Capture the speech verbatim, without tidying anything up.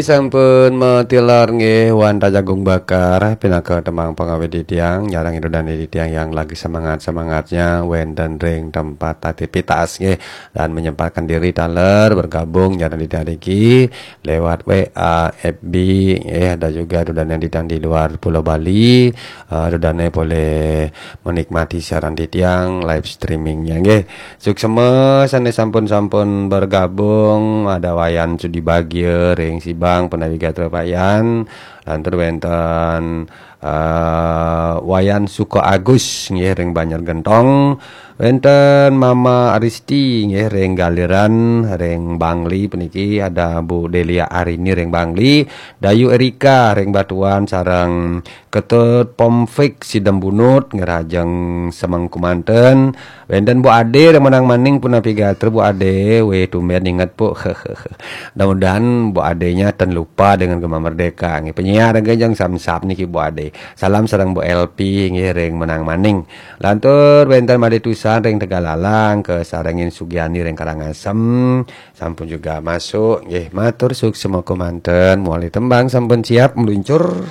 Sampun matilar nggih wantah jagung bakar pinaka tembang pangawit titiang, nyarengin dudané titiang yang lagi semangat-semangatnya wénten ring tempat aktivitas nggih, dan menyempatkan diri taler bergabung nyarengin titiang niki lewat W A, F B nggih, ada juga dudané titiang di luar Pulau Bali, eh, dudané boleh menikmati siaran titiang live streamingnya nggih. Suksma sané sampun-sampun bergabung, ada Wayan Sudi Bagia ring Sibang, punapi gatra Wayan, lantur wénten eh, Wayan Suka Agus nggih ring Banjar Gentong, wénten Mama Aristi nggih ring Galiran, ring Bangli puniki ada Bu Delia Arini ring Bangli, Dayu Erika ring Batuan sareng Ketut Pomfik Sidembunut ngrajeng semeng kumanten. Wénten Bu Ade ring Menang Maning punapi gatra Bu Ade, wéh tumbén inget, Bu. Mudah-mudahan Bu Adenya ten lupa dengan Gema Merdeka nggih. Penyiar nggih jeng samsap niki Bu Ade. Salam sareng Bu L P nggih ring Menang Maning. Lantur wénten Madé Tusan ring Tegalalang kasarengin Sugiani ring Karangasem sampun juga masuk nggih. Matur suksma kumanten, muali tembang sampun siap meluncur.